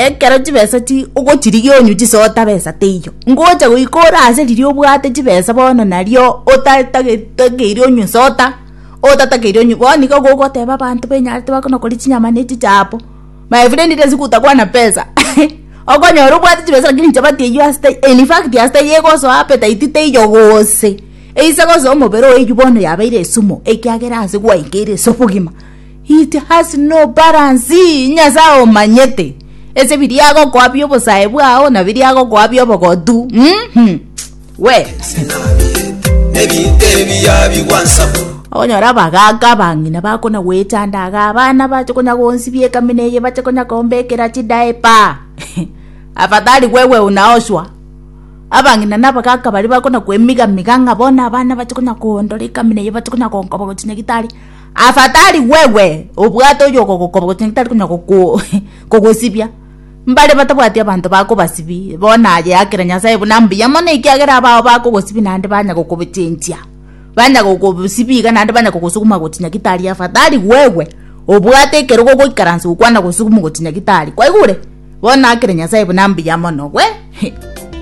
Ekero chibesa chi ogochirigia onywe chisota besa teiyo, ngocha goika ore ase riria obwate chibesa bono nario otatageire onywe soda, otatakeire onywe bono iga gogoteba abanto benyarete bakona koria chinyama na echichapo, my friend ile siku utakuwa na pesa okonyora obwate chibesa lakini chapati eywo ase teiyo in fact ase teiyo egosoa appetite teiyo gose, eise gosoa omobere oye eywo bono yabeire esumu ekiagera ase gwaikeire ase obogima. It has no balance, Nyasae omanyete ase biria agokoa bi'obosae bwao na biria agokoa bi'obogotu. Mhm. We. Ebinto ebiya bigwansa. Okonyora abagaaka abang'ina bakona goechanda iga abana bache konya gonsibia ekamina eye bache konya kombekera chidiaper. Afadhali wewe unaoshwa. Abang'ina na abagaaka baria bakona koemigamiga ng'a bono abana bache konya kondora ekamina eye bache konya gonkoba gochia nyagetari. Afadhali wewe obwate oyogogokoba gose tari konya goko kogosibia. Mbare batabwati abanto bakobasibia, bono aye akera Nyasaye buna mbuya mono ekiagera abao bakogosibia naende banya gokobochenchia, banya gokobosibia iga naende banya kogosuguma gochia nyagitari afadhali wewe obwate ekerogo ogoikaransa gokwana gosuguma gochia nyagitari kwaigure? Bono akere Nyasaye buna mbuya mono we.